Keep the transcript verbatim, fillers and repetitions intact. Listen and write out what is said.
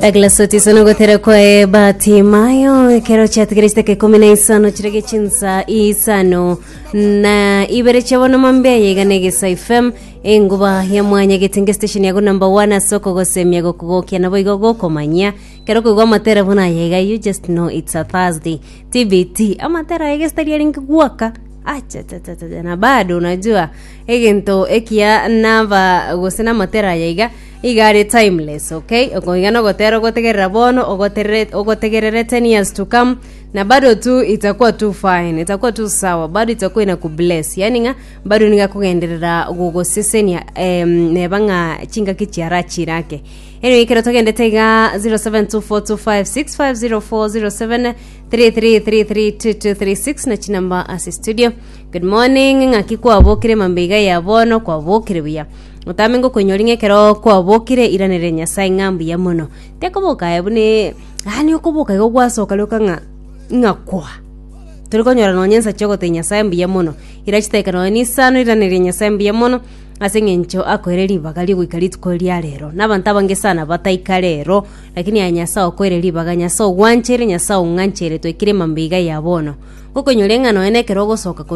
Douglas Otiso nogotera kwae Batimayo ekero chiatigeretie chitaka ikomi na isano chirege chinsa isano na ibere chiabono mambia yaiga na Egesa F M, enguba ya mwanya getinge, station yago number one ase okogosemia, gokogokia nabo igo gokomanyia. Kero koigwa amatera buna yaiga, you just know it's a Thursday T B T. Amatera aya gestari arenge gwaka achachachacha na bado unajua egento ekia naba gose na amatera aya iga iga are timeless. Okay, okoiga nogotera ogotegerera bono, ogoterere ogotegerere ten years to come na bado tu itakuwa tu fine, itakuwa tu sawa, bado itakuwa inakubless, yani ng'a bado niga kugenderera gogosesenia, em, neba ng'a chingaki chiarachirake. Anyway, ekero togendete iga zero seven two four two five six five zero four, zero seven three three three three two two three six na chinamba ase studio. Good morning, ng'aki kwabokire mambe iga ya bono? Kwabokire buya? Otame ngokonyori ng'a ekero kwabokire iranere Nyasaye ng'a mbuya mono. Tekoboka aye bune yaani okoboka igo gwasoka rioka ng'a ng'a kwa tori konyora nonya ensa chiogotebia Nyasaye mbuya mono. Ira chidakika nonya na isano iraneria Nyasaye mbuya mono ase eng'encho akoire ribaga rigoika rituko ria rero. Na abanto abange sana bataika rero, lakini aya Nyasaye okoire ribaga, Nyasaye ogwanchere, Nyasaye ong'anchere twaikire mambia iga ya bono. Ngokonyora ng'a nonya na ekero ogosoka korwa.